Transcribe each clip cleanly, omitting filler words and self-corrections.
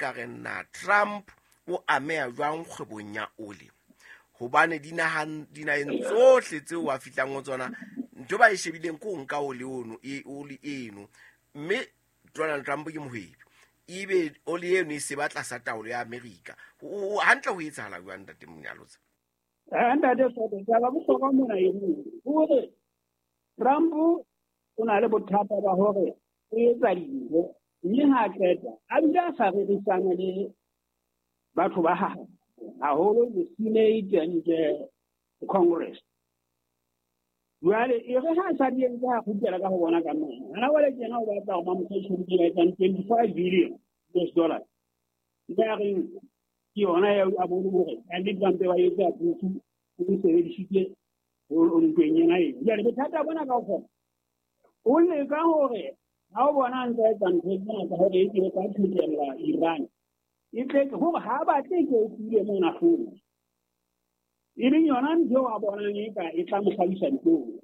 Ka re na Trump o ameha jwang kgwebong ya oli? Hobane dinaheng tsohle tseo a fihlang ho tsona, ntho ba e shebileng ke ho nka oli ono, e, oli eno. Mme Donald Trump ke mohwebi, ebe oli eno e se ba tlasa taolo ya Amerika. Hantle ho etsahala jwang, Ntate Monyalotsa? Ntate Soto, taba bohlokwa mona e nngwe hore Trump o na le bothata ba hore o etsa dintho mme ha a qeta a bile a sa rerisana le batho ba hae, haholo the Senate and the Congress. Jwale e re ha a sa di entse, ha kgutlela ka ho bona ka mona hana jwale tjena o batla hore ba mo fe tjhelete e ba etsang 25 billion US dollars. Mme a reng ke yona eo a bone hore ka nnete ba mpe ba etse approve, o e sebedisitse ntweng ena eo. Jwale bothata bona kaofela o leka hore ha o bona a ntse a etsa ntho tsena tsa hore e ke ka qhekella Iran, e tle hore ha batle ke o tswile mona hlong, e leng yona ntho eo a bonang e ka e tla mo hlabisa dihlong.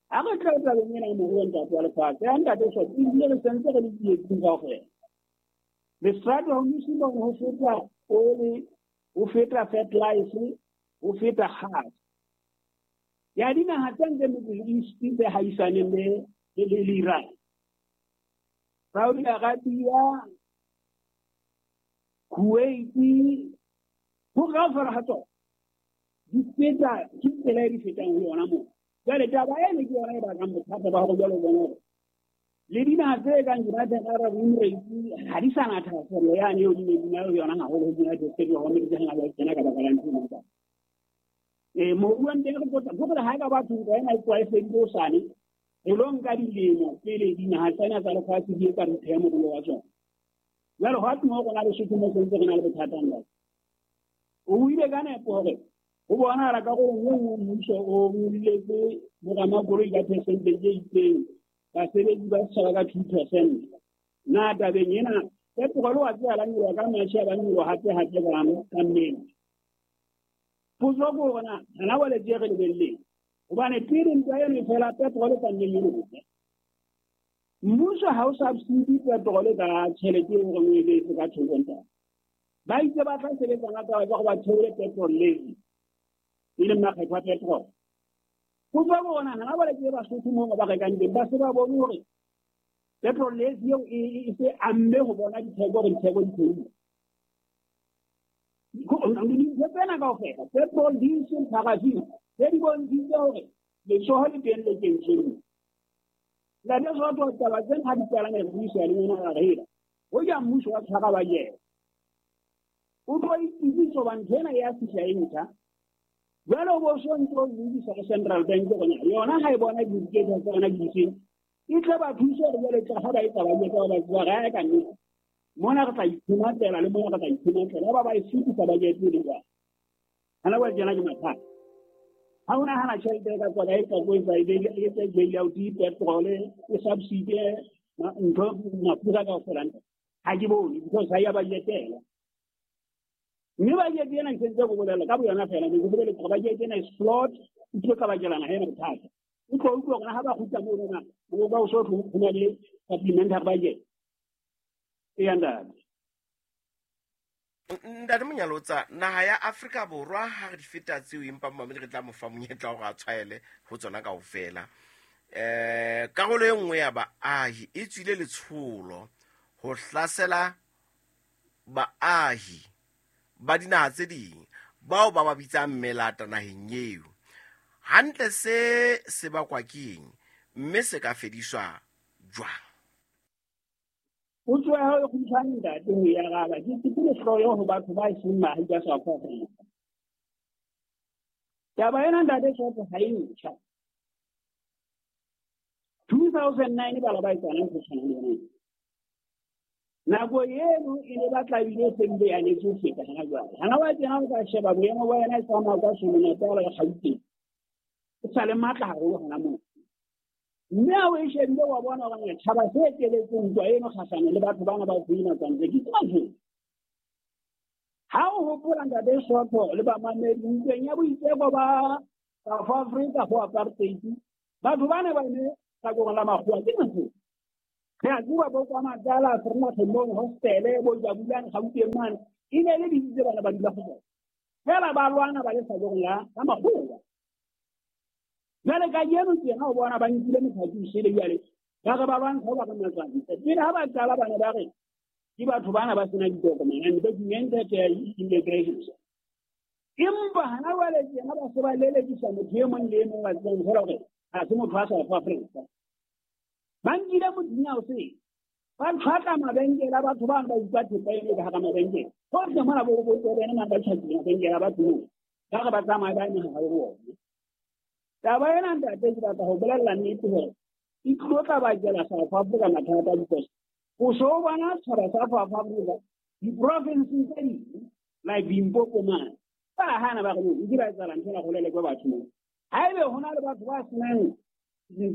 Ha re tla tabeng ena moruo, ntate wa lefatshe, ya ntate Soto, ebile re sentse re le tsietsing kaofela. Le Strait of Hormuz ho feta oli, ho feta fertilizer, ho feta gas ya dinaha tse ntle Middle East tse haisaneng le Iran, Saudi Arabia, Kuwait, ho kaofela ha tsona di feta ke tsela e di fetang ho yona moo. Jwale taba eno ke yona e bakang bothata ba hore jwale o bone hore le dinaha tse kang United Arab Emirates ha di sa na thahasello yane eo di neng di na le yona haholo ho United States of America ha ba kena ka baka la ntho ena. Moruo teng re potla hore ha ka batho ntwa ena e tloha e fedile hosane, re lo nka dilemo pele dinaha tsena tsa lefatshe di etsa repair moruo wa tsona. Jwale ho atmo rona Lesotho mo sentse re na le bothata ntate. O buile ka nepo hore ho bonahala karolong e nngwe mmuso o nyolletse boramakoloi ka percentage e itseng, basebetsi ba setjhaba ka 2%. Na tabeng ena petrol wa tseba la nyoloha ka March, ya ba nyoloha hape hape ka May. Potso ke hore na hana jwale tje re lebelleng, hobane pele ntwa eno e fela petrol ka nne nyolohe. Mmuso ha o subsidy petrol ka tjhelete eo re o e beetse ka thoko ntate. Ba itse ba tla sebetsa ka taba tsa go ba theole petrol levy, e leng makgetho a petrol. Potso ke hore na hana jwale tje Basotho moo ba rekang teng ba se ba bone hore petrol levy eo e se amme ho bona ditheko hore ditheko di theohile. Dintho tsena kaofela, petrol, diesel, paraffin, tse di bontshitse hore letsoho le teng le kentsweng. Ntate Soto, taba tsena ha di qala re buisa le yona ra re hoja mmuso wa tshwara budget, o tlo itsebisa hoba ntho ena ya fihla e ntjha. Jwale o bo so ntse o lebisa go Central Bank hore yona ha e bona di-indicators tsa yona di difeng, e tle ba thuse hore jwale tla ha ba etsa budget ba ba tseba re ka nnete mona re tla iphumatela le mona re tla iphumatela, ba ba e fetisa budget e le jwang. Hana jwale tjena ke mathata. Ha o nahana tjhelete e ka tswa kae, ka ko etsa e etse bail out petrol, e subsidy ntho mafura kaofela, ha ke bone because ha ya budgetela. Mme budget ena ke sentse go bolela ka boyona fela, ne ke boleletse gore budget ena is flawed, e tlo tlabakela naha ena bothata. O tlo utlwa gore ha ba kgutla moo rona o ba o so ho na le supplementary budget. Eya ntate. Ntate Monyalotsa, naha ya Afrika Borwa ha re di feta tseo, empa momamedi re tla mo fa monyetla hore a tshwaele ho tsona kaofela. Karolo e nngwe ya baahi e tswile letsholo ho hlasela baahi ba dinaha tse ding bao ba ba bitsang melata naheng eo. Hantle se se bakwa ke eng, mme se ka fediswa jwang? Potso ya hao e kgutshwane ntate ho e araba. Ke ke lehloyo ho batho ba seng baahi ba South Africa. Taba ena ntate Soto ha e ntjha. 2009 bala ba etsana ntho tshwanang le yona. Nako eno e ne batla ebile e seng e anetse ho feta hana jwale. Hana wa tjena o ka sheba boemo ba yona e tsamaya ka Natal le Gauteng. E sa le matla haholo hona moo. Mme ha o e shebile wa bona hore tjhaba se eteletseng ntwa eno kgahlano le batho bana ba tsena kantle ke tsena. Ha o hopola ntate Soto le bamamedi ntweng ya boitseko ba South Africa ho apartheid, batho bana ba ne hlakoreng la makgowa ke Mazulu. Re a tseba bo kwa Matala, Vereeniging mono, hostele, bo Jabulani, Gauteng mane, e ne le ditsi tse bana ba dula go tsona. Fela ba lwana ba le sabong la makgowa. Jwale kajeno tjena o bona ba nkile mothapi o sele jwale, ba re ba lwantsha ba re matswantle. Pele ha ba qala bana ba re ke batho bana ba sena ditokomane, undocumented immigration. Empa hana jwale tjena ba se ba lelekisa motho e mong le e mong wa tsebang fela hore ha se motho wa South Africa. Ba nkile mothunya o sele, ba tshwatla mabenkele a batho bano ba utlwa thepa eno ka hara mabenkele. Hohle mona bo bo bene mane ba tjhakile mabenkele a batho moo. Ba re ba tsamaye ba eme hare ho ona. Taba ena ntate ke batla ho bolella nnete hore e tlo tla bakela South Africa mathata because o so o bona setjhaba sa South Africa diporofenseng tse ding like Limpopo mane ba hana ba re no nke ba etsahala ntho ena go lelekwe batho moo. Haebe ho na le batho ba senang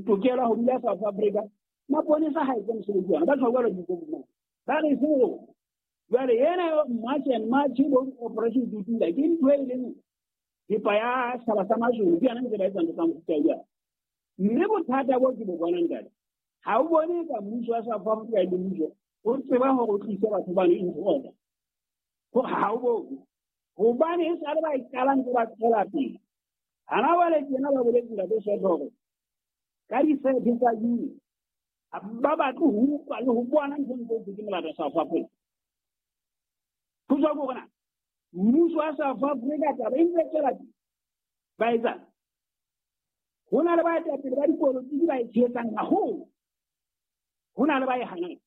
tokelo ho dula South Africa, maponesa ha etse mosebetsi wa ona, ba tjho jwalo Limpopo mane. Ba re seng rona. Jwale ena March and March bo Operation Dudula ke ntho e leng thepa ya setjhaba sa Mazulu, ke yona ntse ba etsa ntho tsa mofuta o jwalo. Mme bothata bo ke bo bonang ntate, ha o bone ka mmuso wa South Africa le mmuso o tseba hore o tlise batho bano into order. Hore ha o bone. Hobane e sale ba e qala ntse ba tswela pele. Hana jwale tjena ba boletse ntate Soto hore ka di-thirty tsa June ba batle ho utlwa le ho bona ntho ntse ke molato South Africa. Ho tswa ko rona mmuso wa South Africa taba e ntse tswela pele. Ba etsang? Ho na le baetapele ba dipolotiki ba e tshehetsang haholo. Ho na le ba e hanang.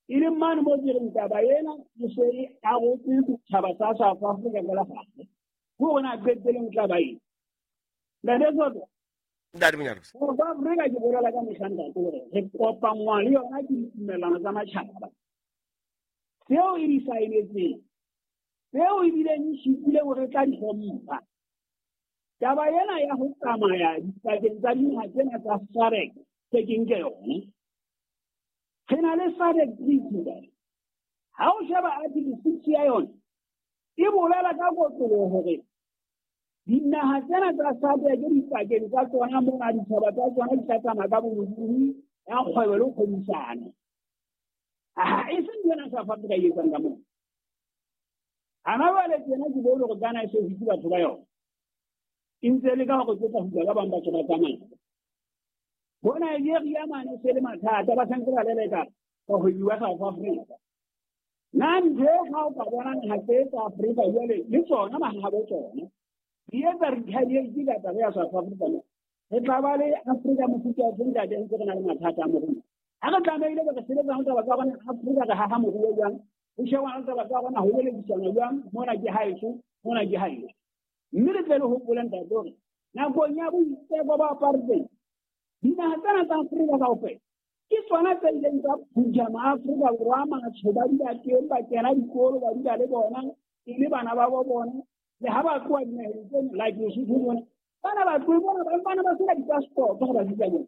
E leng mane moo ke reng taba ena e se e arotse setjhaba sa South Africa ka lefatshe. Ho rona qetelong tla ba eng? Ntate Soto. Ntate Monyalosi. South Africa ke bolela ka mehla ntate hore re kopanngwa le yona ke ditumellano tsa matjhaba. Tseo e di saenetseng, tseo ebileng e supile hore e tla di hlompha. Taba ena ya ho tsamaya dipakeng tsa dinaha tsena tsa SADC se ke nke yone. Re na le SADC Treaty ntate. Ha o sheba Article 6 ya yona, e bolela ka kotloloho hore dinaha tsena tsa SADC dipakeng tsa tsona mona ditjhaba tsa tsona di tla tsamaya ka bolokolohi ya kgwebo le kgwebisano. Ha e se ntho ena South Africa e etsang ka moo. Hana jwale tjena ke bone hore Ghana e se hutse batho ba yona. E ntse le ka hore tse tla hutla ba bang batho ba tsamaya. Bo Nigeria mane se le mathata ba santse ba leleka bahwebi ba South Africa. Na ntho e ha o ka bona naha tse tsa Afrika jwale le tsona mahabo tsona di etsa retaliate ka taba ya South Africa mo. Re tla ba le Afrika mofuta o feng ntate ntse re na le mathata a moruo. Ha re tlamehile re sebetsa ho taba tsa rona Afrika re haha moruo jwang, ho shebana le taba tsa rona ho belekisana jwang, mona ke haeso, mona ke haeso. Mme re tle le hopole ntate hore nakong ya boitseko ba apartheid dinaha tsena tsa Afrika kaofela ke tsona tse ileng tsa phutha maAfrika Borwa a matsho ba dula teng, ba kena dikolo, ba dula le bona, e le bana ba bo bona. Le ha ba tloha dinaheng tseno like Lesotho mona, bana ba tlohe bona, bana ba sena di-passport ha ba fihla mona.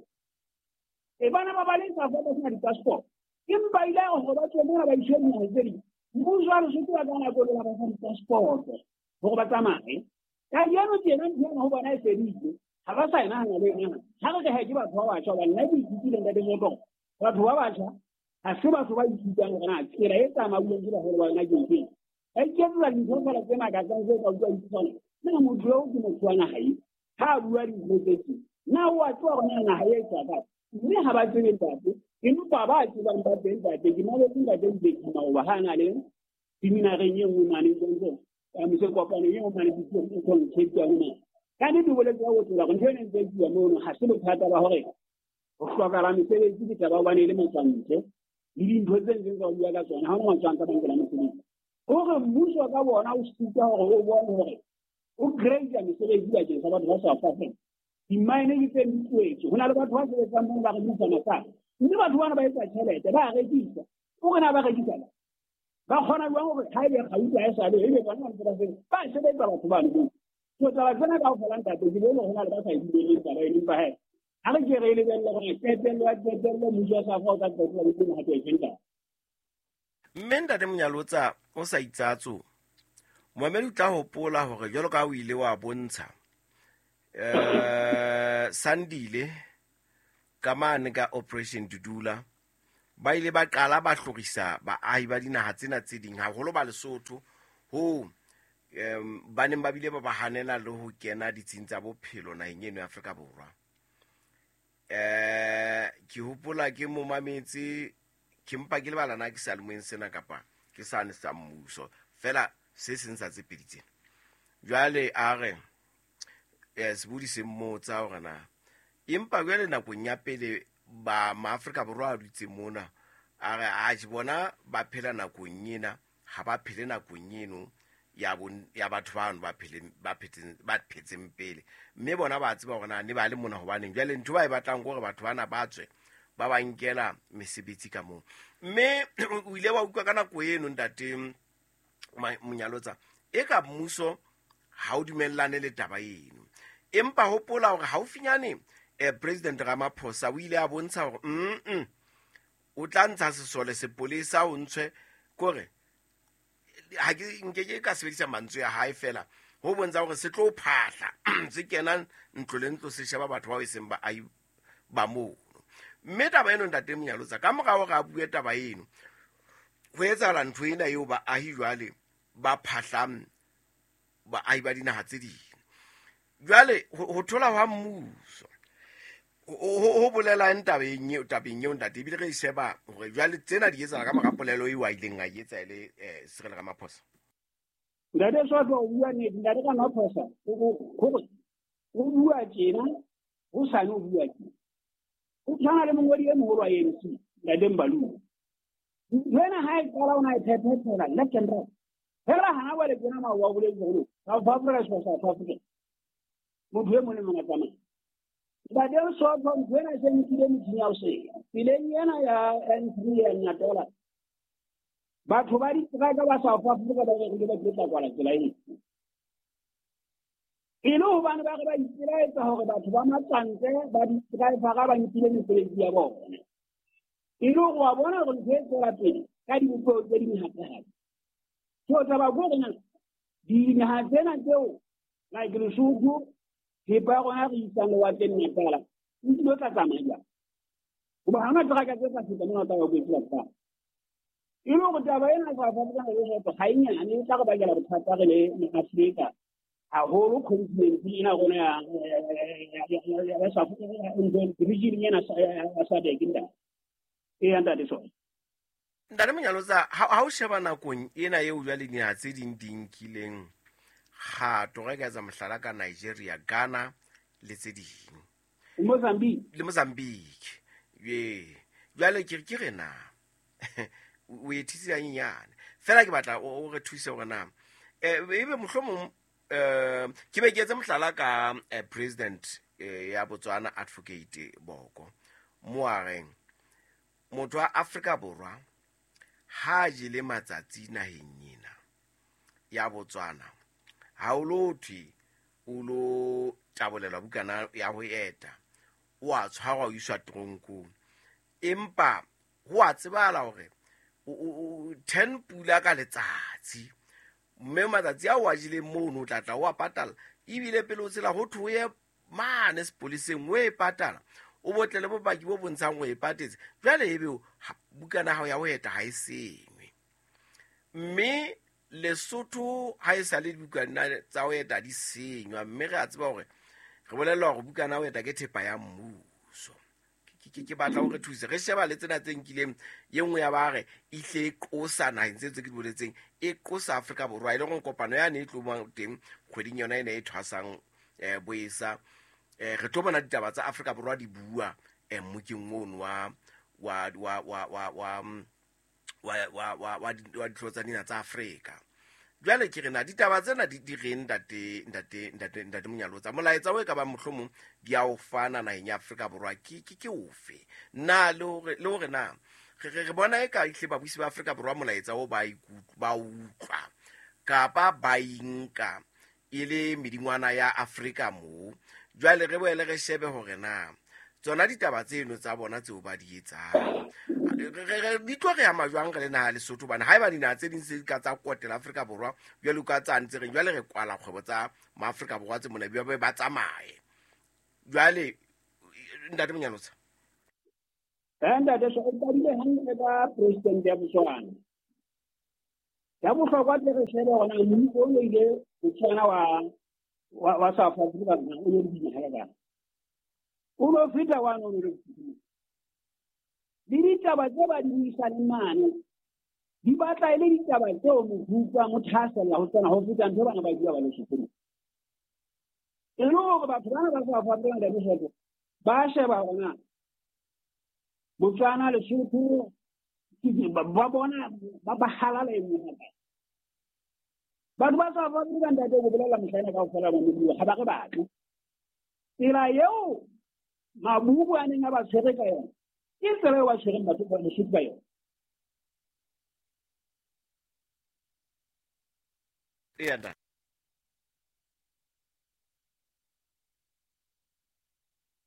E bana ba ba le South Africa ba sena di-passport. Empa ile ya hore ba tswe mona ba iswe dinaheng tse ding. Mmuso wa Lesotho wa ka nako eo ba fa di-passport hore ba tsamaye. Kajeno tjena ntho ena ho bona e fedile. Ha ba sa e nahana le e nahana. Ha re re he ke batho ba batjha hobane nna ke ithutile ntate Soto. Batho ba batjha ha se batho ba ithutang hore na tsela e tsamauweng ke baholo ba yona ke efeng. Ba iketsetsa dintho feela tse makatsang tse ka utlwa ipotsa na motho eo ke motho wa naha e ha a bua dintho tse tje. Na o a tseba hore na naha e tswa kae? Mme ha ba tsebe ntate, empa ba tsebang ba teng ntate. Ke mametse ntate Mbeki maoba ha a na le seminareng e nngwe mane Johnson. Mise kopano e nngwe mane Cape Town mane. Ka nnete o boletse ka botlalo hore ntho ena e ntse e tsuwa mono ha se bothata ba hore ho hlokahala mesebetsi ke taba hobane e le matswantle le dintho tse ntseng tsa ho bua ka tsona ha hona matswantle a ba mesebetsi. Hore mmuso ka bona o sitwa hore o bone hore o create mesebetsi bakeng sa batho ba South Africa. Di-mine ke tse di tlohetswe. Ho na le batho ba sebetsang mono ba rekisa masala. Mme batho bana ba etsa tjhelete, ba a rekisa. O re na ba rekisa ba? Ba kgona jwang hore ha ebe kgauta ha e sa le, ebe bona ba ntse ba sebetsa. Ba sebetsa batho bano moo. So taba tsena kaofela ntate, ke bone hore ho na le ba sa e dumelleng taba eno, empa he, ha re ke re e lebelle hore qetello ya qetello mmuso wa South Africa o tla qetella o teng hape e feng taba. Mme ntate Monyalotsa o sa itsatso, moemedi o tla hopola hore jwalo ka ha o ile wa bontsha Sandile ka mane ka Operation Dudula Ba ile ba qala ba hlorisa baahi ba dinaha tsena tse ding, haholo ba Lesotho, ho ba neng ba bile ba ba hanela le ho kena ditsing tsa bophelo naheng eno ya Afrika Borwa. Ke hopola ke mo mametse, ke mpa ke lebala na ke seyalemoyeng sena kapa ke sane sa mmuso, fela se seng sa tse pedi tsena. Jwale a re sebodi se mmotsa hore na empa jwale nakong ya pele ba maAfrika Borwa a dutse mona, a re atjhe bona ba phela nakong ena, ha ba phele nakong eno ya ya batho bano ba pheleng, ba phetseng, ba phetseng pele, mme bona ba tseba hore na ne ba le mona hobaneng. Jwale ntho ba e batlang ke hore batho bana ba tswe ba ba nkela mesebetsi ka moo. Mme o ile wa utlwa ka nako eno ntate Monyalotsa, e ka mmuso ha o dumellane le taba eno, empa hopola hore haufinyane President Ramaphosa o ile a bontsha hore o tla ntsha sesole sepolesa o ntshwe kore ha ke nke ke ka sebedisa mantswe ya hae fela ho bontsha hore se tlo phahla se kena ntlo le ntlo se sheba batho bao e seng baahi ba mono. Mme taba eno ntate Monyalotsa, ka mora hore a bue taba eno, ho etsahala ntho ena eo baahi jwale ba phahlang baahi ba dinaha tse ding. Jwale ho thola hwa mmuso ho bolelang tabeng eo, tabeng eo ntate, ebile re e sheba hore jwale tsena di etsahala ka mora polelo eo a ileng a e etsa e le Cyril Ramaphosa. Ntate Soto o bua nnete, ntate Ramaphosa hore o bua tjena, ho sane o bua tjena. O tshwana le mongodi e moholo wa ANC, ntate Mbalula. Ntho ena ha e qala o na e phethela left and right. Fela hana jwale tjena maoba o boletse hore South Africa is for South Africa. Motho e mong le mong a tsamaye. Ntate Soto, ntho ena e se nkile metjhini ya ho senya. Tseleng ena ya N3 ya Natola, batho ba diteraka ba South Africa ba re ba tlo kwala tsela ena. E le hobane ba re ba ipelaetsa hore batho ba matswantle ba di-driver ba nkile mesebetsi ya bona. E le hore wa bona hore ntho e tswela pele ka dibopeho tse ding hape-hape. So taba ke hore na dinaha tsena tseo like Lesotho, thepa ya rona re isang lewatleng Natala, e tlilo tla tsamaya jwang? Hoba ha hona teraka tse tla feta mona, o tla ba kwetse batho ba. E le hore taba ena South Africa le Lesotho ha e nyane, e tla re bakela bothata re le maAfrika, haholo continent ena rona ya South region ena ya SADC ntate. Eya ntate Soto. Ntate Monyalotsa, ha o sheba nakong ena eo jwale dinaha tse ding di nkileng kgato, re ka etsa mohlala ka Nigeria, Ghana le tse ding. Mozambique. Le Mozambique. Ye. Jwale ke ke re na o e thusitse hanyenyane. Fela ke batla o re thuse hore na ebe mohlomong ke be ke etse mohlala ka President ya Botswana Advocate Boko, mo a reng motho wa Afrika Borwa ha jele matsatsi naheng ena ya Botswana, ha o lo thwe o lo tabolelwa bukana ya ho eta, o a tshwarwa o iswa teronkong, empa ho a tsebahala hore o 10 pula ka letsatsi, mme matsatsi ao a jeleng mono o tla tla o a patala, ebile pele o tshela ho thwe o ye mane sepoleseng o e patala, o botle le bopaki bo bontshang o e patetse. Jwale ebe bukana ya hao ya ho eta ha e sengwe. Mme Lesotho ha e sa le dibukana tsa ho eta di senywa, mme re a tseba hore re bolellwa hore bukana ya ho eta ke thepa ya mmuso. Ke batla hore thuse re sheba le tsena tse nkileng, e nngwe ya ba re e hle e qosa naheng tse tse ke di boletseng, e qosa Afrika Borwa, e le hore kopano yane e tlo bang teng kgweding yona ena e thwasang boesa, re tlo bona ditaba tsa Afrika Borwa di bua mmokeng ono wa wa wa wa wa wa wa wa wa wa wa dihlooho tsa dinaha tsa Afrika. Jwale ke re na ditaba tsena di reng ntate ntate ntate ntate Monyalotsa, molaetsa o e ka bang mohlomong di a o fana naheng ya Afrika Borwa ke ke ke ofe? Na le hore na re bona e ka ehlile babusi ba Afrika Borwa molaetsa o ba ba utlwa kapa ba inka e le medingwana ya Afrika moo. Jwale re boele re shebe hore na tsona ditaba tseno tsa bona tseo ba di etsang di tlo re ama jwang re le naha Lesotho, hobane haeba dinaha tse ding se ka tsa kotela Afrika Borwa jwalo ka tsane tse reng jwale re kwala kgwebo tsa maAfrika Borwa tse mona ba ba tsamaye. Jwale ntate Monyalotsa. Ntate so o qadile hantle ka president ya Botswana. Ya bohlokwa tle re shebe hore na mmuso o ile Botswana wa South Africa o le dinaha ka kang. O lo feta wa no le ditaba tse ba di buisaneng mane di batla e le ditaba tseo mohupa mo thasella ho tsona ho feta ntho bana ba bua ba le sekolong. E le hore batho bana ba South Africa ntate Soto ba sheba hore na Botswana Lesotho ba bona ba halala e nngwe. Batho ba South Africa ntate go bolela mohlaena kaofela ba mobuo ga ba re batle. Tsela eo mabubu a neng a ba tshwere ka yona ke tsela eo ba tshwereng batho ba Lesotho ka yona. Eya ntate.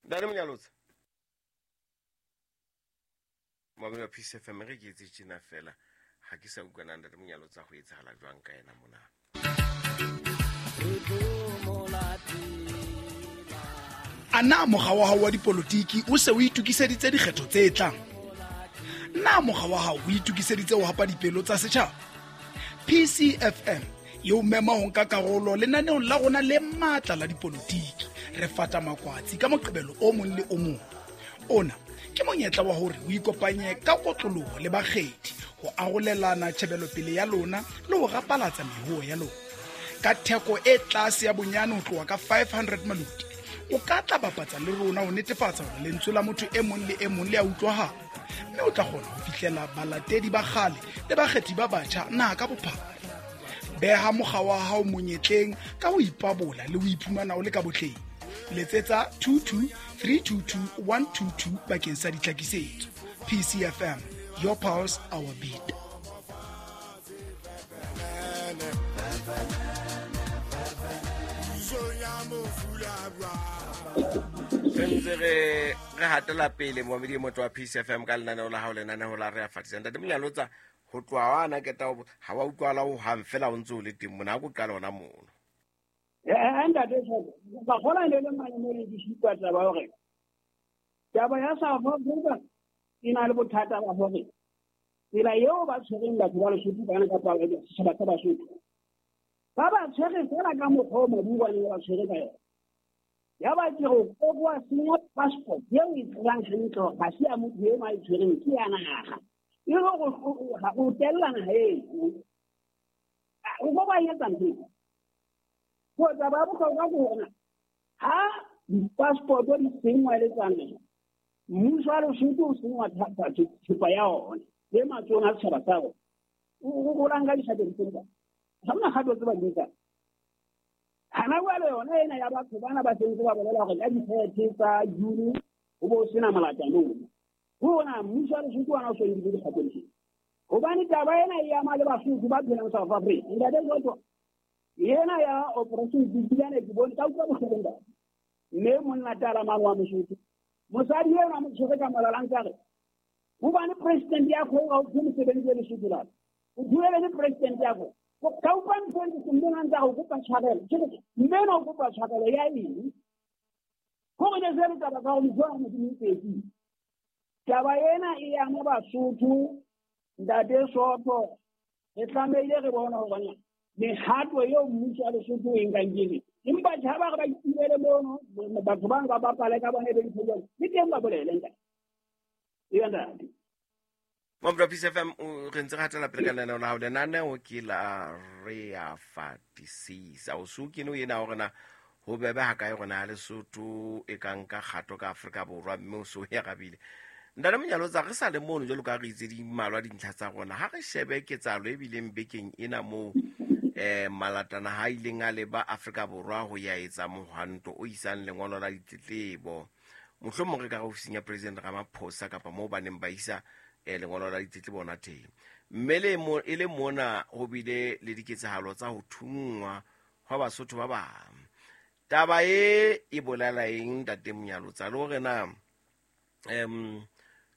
Ntate Monyalotsa. Mamelo Peace FM re ke etse tjena fela ha ke sa utlwana ntate Monyalotsa ho etsahala jwang ka yena mona. A na mokga wa hao wa dipolotiki o se o itokiseditse dikgetho tse tlang? Na mokga wa hao o itokiseditse ho hapa dipelo tsa setjhaba? PCFM e o mema ho nka karolo lenaneong la rona le matla la dipolotiki. Re fata makwatsi ka Moqebelo o mong le o mong. Ona ke monyetla wa hore o ikopanye ka kotloloho le bakgethi ho arolelana tjhebelopele ya lona le ho rapalatsa mehuo ya lona. Ka theko e tlase ya bonyane ho tloha ka 500 maloti, o ka tla bapatsa le rona ho netefatsa hore lentswe la motho e mong le e mong le a utlwahala, mme o tla kgona ho fihlela balatedi ba kgale le bakgethi ba batjha naha ka bophara. Beha mokga wa hao monyetleng ka ho ipabola le ho iphumana o le ka botleng. Letsetsa 22 322 122 bakeng sa ditlhakisetso. PCFM, your pulse, our beat. Re ntse re hatela pele momedi motho wa Peace FM ka lenaneo la hao, lenaneo la re a fatisa. Ntate Monyalotsa, ho tloha wa na keta ha wa utlwala ho hang fela o ntse o le teng mona, ha ko qala hona mono. Ntate Soto, ba kgona le le mane mo le ke supa taba hore taba ya South Africa e na le bothata ba hore tsela eo ba tshwereng batho ba Lesotho bana kapa setjhaba sa Basotho ba ba tshwere fela ka mokgwa o mabuo a neng ba tshwere ka yona. Ya ba ke go kokoa senya passport eo e tsebang hantle hore ha se ya motho eno a e tshwereng, ke ya naha. E le go tella naha eno. O ko ba etsa ntho eo. Go taba ya bohlokwa ke hore ha di-passport di senngwa le tsa naha, mmuso wa Lesotho o senngwa thepa ya ona le matsohong a setjhaba sa rona. O golang ka dikgato di seng kae? Ha hona kgato tse ba di nkang. Hana jwale yona ena ya batho bana ba sentse ba bolela hore ka di-30 tsa June ho bo sena molata mono. Ho ona mmuso wa Lesotho ona o so nkile dikgato di seng. Hobane taba ena e ama le Basotho ba phelang South Africa. Ntate Soto, ena ya Operation Dudulane ke bone ka utlwa bohloko ntate. Mme monna tala mane wa Mosotho, mosadi enwa a mo tshwere ka molala a ntse a re hobane president ya kgo ga o thwe mosebetsi wa Lesotho la. O buele le president ya kgo. Ka utlwa ntho e ntse mme a ntse a go kopa tshwarelo. Ke re mme ena o kopa tshwarelo ya eng? Gore ne se le taba tsa gore motho wa Modimo o tsetsile. Taba ena e ama Basotho, ntate Soto, re tlamehile re bone hore mehato eo mmuso wa Lesotho o e nkang ke efe. Empa tjha ba re ba itumele mono, batho bang ba bapale ka bone be ntho jwalo. Le teng ba bolele ntate. Eya ntate. Mamelo Peace FM, re ntse re hatela pele ka lenaneo la hao. Lenaneo ke la re a fatisisa. O so kene o ena hore na ho bebe ha kae rona Lesotho e ka nka kgato ka Afrika Borwa, mme o so ya rabile. Ntate Monyalotsa, re sa le mono jwalo ka re itse di mmalwa dintlha tsa rona. Ha re shebe ketsahalo e bileng bekeng ena moo malatana ha ileng a leba Afrika Borwa ho ya etsa mohwanto o isang lengolo la ditletlebo. Mohlomong re ka re ofising ya President Ramaphosa kapa moo ba neng ba isa lengolo la ditletlebo ona teng. Mme le mo, e le mona ho bile le diketsahalo tsa ho thunngwa hwa Basotho ba bang. Taba e e bolela eng Ntate Monyalotsa? Le hore na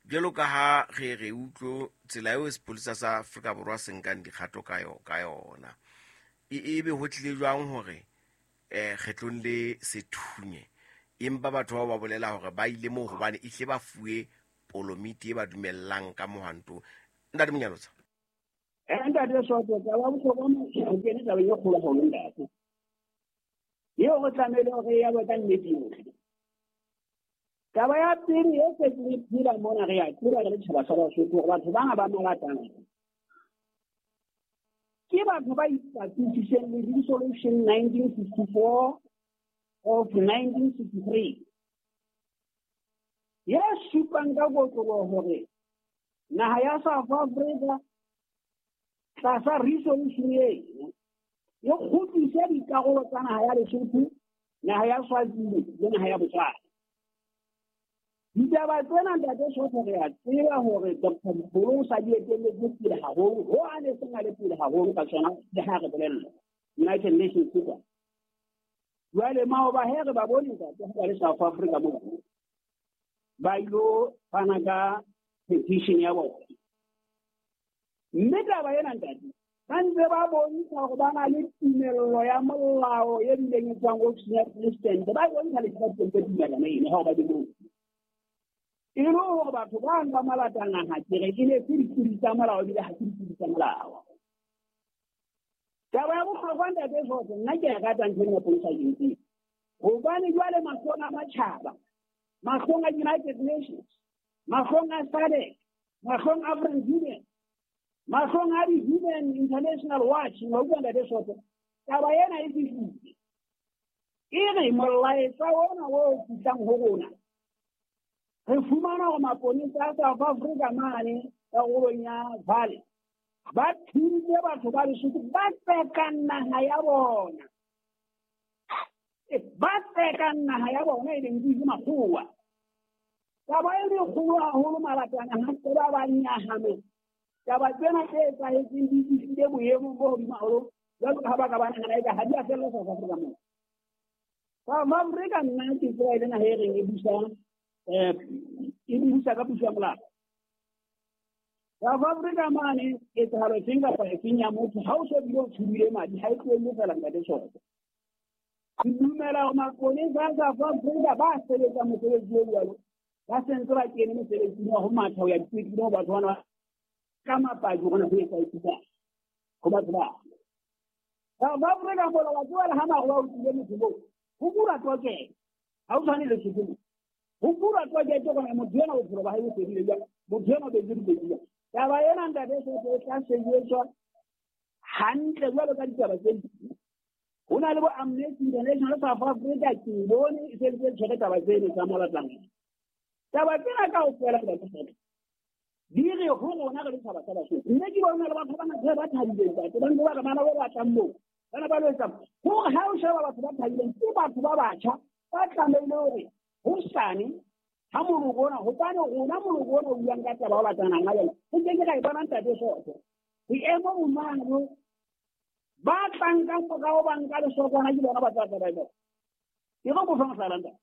jwalo ka ha re re utlwe tsela eo sepolesa sa Afrika Borwa se nkang dikgato ka yona. E be ho tlile jwang hore kgetlong le se thunye, empa batho bao ba bolela hore ba ile moo hobane e hle ba fuwe polomiti e ba dumellang ka mohwanto. Ntate Monyalotsa. Ntate Soto, taba bohlokwa o kene tabeng e kgolo haholo ntate. Eo re tlamehile hore ya ka nnete yohle. Taba ya pele e setseng e phela mona re a tseba re le tjhaba sa Basotho hore batho bana ba malatana ke batho ba ipatisitseng le resolution 1964 of 1963 ya supang ka kotloloho hore naha ya South Africa tlasa resolution eno e kgutlise dikarolo tsa naha ya Lesotho, naha ya Swazini le naha ya Botswana. Ditaba tsena ntate Soto re a tseba hore Dr. Mkholo o sa di etelletse pele haholo, ho a ne seng a le pele haholo ka tsona le ha re bolella United Nations kwa. Jwale maoba he re ba bone ntate ha ba le South Africa moo ba ilo fana ka petition ya bona. Mme taba ena ntate ba ntse ba bontsha hore ba na le tumello ya molao e bileng e tswang ofising ya president, ba e bontsha le president tumellano eno ha ba di moo. E le hore batho ba nka malatana ha ke re ke ne se dipudi tsa molao ebile ha se dipudi tsa molao. Taba ya bohlokwa ntate Soto, nna ke a rata ntho ena ya police agency. Hobane jwale mahlong a matjhaba, mahlong a United Nations, mahlong a SADC, mahlong a African Union, mahlong a di-Human International Watch, wa utlwa ntate Soto, taba ena e fihlile. E re molaetsa ona o fihlang ho rona, re fumana hore maponesa a South Africa mane karolong ya Vale ba thuntse batho ba Lesotho ba tsekang naha ya bona. Ba tsekang naha ya bona e leng ke makgowa. Taba e le kgolo haholo malatana ha se ba ba nyahame. Taba tsena tse etsahetseng di fihlile boemong bo hodimo haholo jwalo ka ha ba ka ba nahana eka ha di a fella South Africa moo. South Africa nna ke tseba e le naha e reng e busa ka puso ya molao. South Africa mane ketsahalo efeng kapa efeng ya motho ha o so bile o tshubile madi ha e tlohelle feela ntate Soto. Ke dumela hore maponesa a South Africa ba sebetsa mosebetsi o jwalo, ba sentse ba kene mosebetsing wa ho matha ho ya dipetlele ho batho bana ka mapaki hore ho etsahetseng ho batho ba. South Africa mola wa tseba le ha maroba o tlile motho moo, ho bura tokelo, ha o tshwane le Lesotho. Ho bura tokelo hore motho ena bophelo ba hae bo fedile jwang, motho ena o betse dikotsi jwang. Taba ena ntate Soto e tla sebetswa hantle jwalo ka ditaba tse ding. Ho na le bo Amnesty International South Africa ke bone e se ntse tshwere taba tseno tsa malatana. Taba tsena kaofela ntate Soto di re ho rona re le tshaba sa Basotho. Mme ke bona le batho ba ba thabileng ntate, ba ntse ba re bana ba batlang moo, bana ba lo etsang. Hore ha o sheba batho ba thabileng ke batho ba batjha ba tlamehile hore hosane ha moloko ona, hobane rona moloko ona o buang ka taba o batlanang ka yona, re ke ke ra e bona ntate Soto. Boemo bo jwalo, ba tlang ka morao ba nka lesokwana ke bona ba tla tla ba e bona. Ke re mo fa mohlala ntate.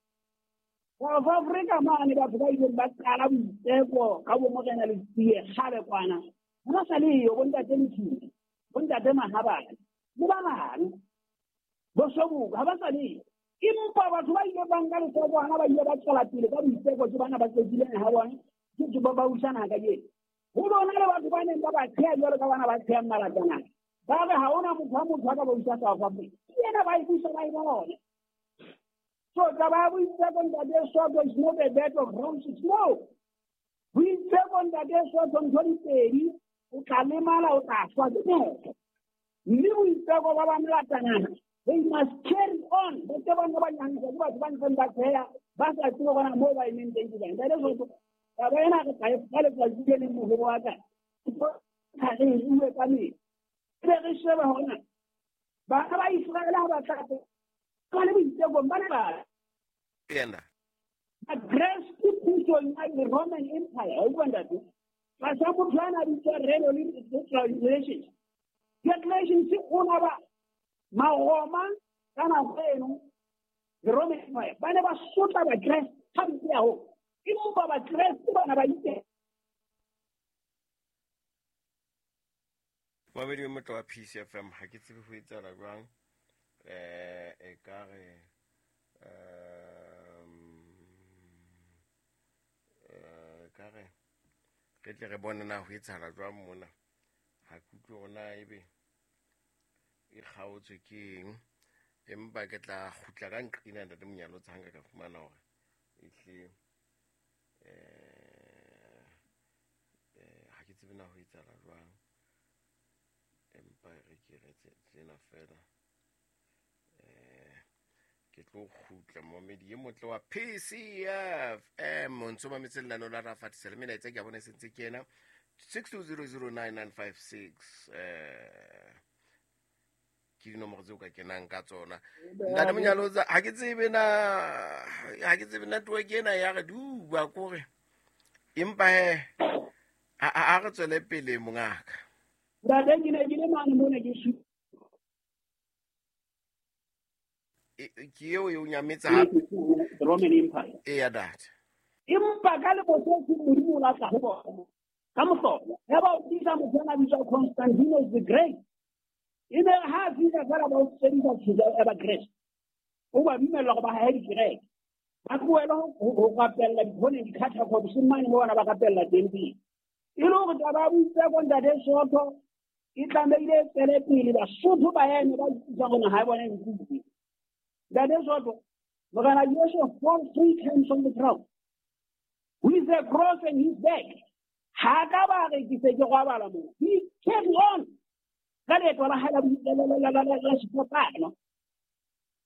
South Africa mane batho ba ileng ba qala boitseko ka bo Morena Letsie kgale kwana, ha ba sa leyo bo ntate Letsie, bo ntate Mahabane le ba bang, bo Sobuka ha ba sa leyo. Empa batho ba ile ba nka lesokwana ba ile ba tswela pele ka boitseko ke bana ba qetileng ha bona ke ba ba usana kajeno. Ho bona le batho ba neng ba ba tsheha jwalo ka bana ba tshehang malatana, ba re ha hona motho ha motho a ka ba usa South Africa, ke yena ba e busa ba e bona. So taba ya boitseko ntate Soto is not a bed of roses. No. Boitseko ntate Soto ntho di pedi, o tla lemala o tla shwa ke motho. Mme boitseko ba ba molatanana, they must carry on. Batho ba ba nyantsha ke batho ba ntseng ba tsheha, ba sa tsebe hore moo ba emeng teng ke kae. Ntate Soto, taba ena re tla e fa letsatsi le leng moholo wa ka. Ha re e bue ka metsi. Ebe re shebe hore na bana ba Israele ha ba tla ba le boitekong ba ne ba Yena. Bakreste pusong ya the Roman Empire, wa utlwa ntate? Tlasa motho a na bitswa Reno le Diocletian. Diocletian o na ba Maroma ka nako eno, the Roman Empire, ba ne ba sotla Bakreste hampe haholo. Empa Bakreste bana ba itse. Mamedi motho wa PCFM ha ke tsebe ho etsahala jwang. E ka re ka re re tle re bone na ho etsahala jwang mona. Ha ke utlwe hore na ebe e kgaotswe ke eng, empa ke tla kgutla ka nqina ntate Monyalotsa ha nka ka fumana hore ehlile ha ke tsebe na ho etsahala jwang, empa re ke re tsena fela. Ke tlo kgutla momedi e motle wa PCFM o ntso mametse lenaneo la Rafatisa le melaetsa ke a bona e sentse ke ena 62009956 ke dinomoro tseo ka kenang ka tsona. Ntate Monyalotsa, ha ke tsebe na, ha ke tsebe network ena ya re duba kore, empa he a re tswele pele mongaka. Ntate, ke ne ke le mane mona ke ke eo e o nyametsa hape. The Roman Empire. Eya, data. Empa ka leboso ke Modimo o latla ho bona. Ka mohlolo. Ya ba o tlisa motho a bitswa Constantinus the Great. E ne ha a fihla feela ba o sebedisa thuto ya Bakreste. O ba dumella hore ba hahe dikereke. Ba tlohele ho rapella dikhoneng, di-catacombs mane mo bona ba rapella teng pele. E le hore taba ya boitseko ntate Soto e tlamehile e tswele pele, Basotho ba eme ba utlwisisa hore naha ya bona e nkuwe. Ntate Soto, Morena Jesu fall 3 times on the ground with a cross in his back. Ha ka ba re ke se ke robala moo. He carry on ka leeto la hae la sefapano.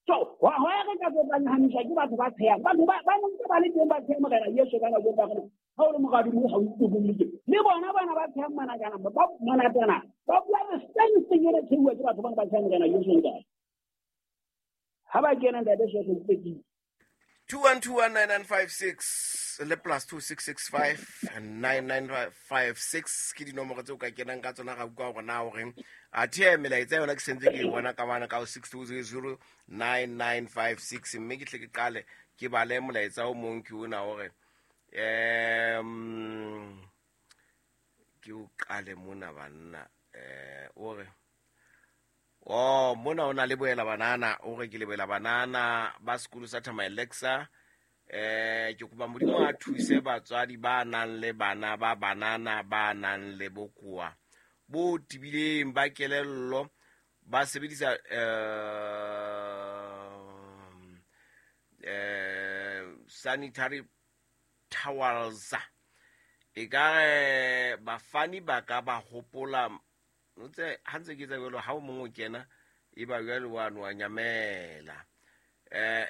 So, ho ya re ka tsotsanyahamiswa ke batho ba tshehang. Batho ba ntse ba le teng ba tsheha Morena Jesu ka nako eo ba re, ha o le moradi mo ha o ikokolletse. Le bona bana ba tshehang manakana, ba manatana, ba bua the same thing e le tshehuwa ke batho bana ba tshehang Morena Jesu ntate. Ha ba kena ntate Soto ke tsepile. 21219956 le plus 26659956 ke dinomoro tseo ka kenang ka tsona. Ga utlwa hore na o reng. Athe melaetsa yona ke sentse ke e bona ka bana ka 62009956, mme ke tle ke qale ke bale molaetsa o mong ke ona hore ke o qale mona banna. O re oh mona o na le boela banana, o re ke le boela banana ba sekolo sa Thamaelexa. Ke kopa Modimo a thuse batswadi ba nang le bana ba banana ba nang le bokoa bo tebileng ba kelello, ba sebedisa sanitary towels. E ka re bafani ba ka ba hopola ntse ha ntse ke etsa jwalo, ha o mong o kena e ba jwale wa no nyamela.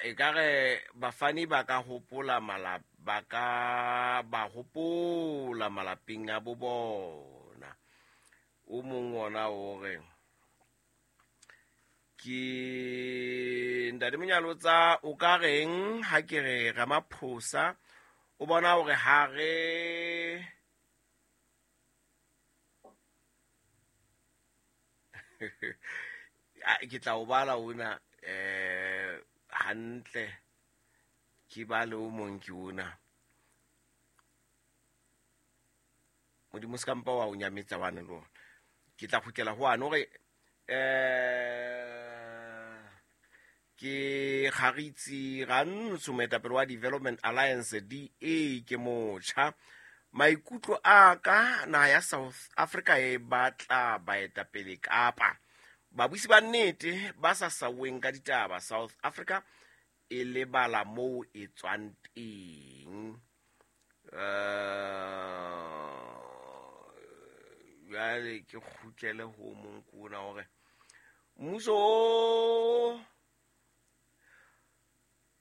E ka re bafani ba ka hopola ba ka ba hopola malapeng a bo bona. O mong ona o re ke ntate Monyalotsa, o ka reng ha ke re Ramaphosa o bona hore ha re ke tla o bala ona hantle, ke bale o mong ke ona. Modimo se ka mpa wa o nyametsa wane le ona. Ke tla kgutlela ho wane hore ke Kgaritsi Rantsho, moetapele wa Development Alliance DA, ke motjha. Maikutlo a ka, naha ya South Africa e batla baetapele kapa babusi ba nnete ba sa saweng ka ditaba. South Africa e lebala moo e tswang teng. Jwale ke kgutlele ho mong ke ona hore mmuso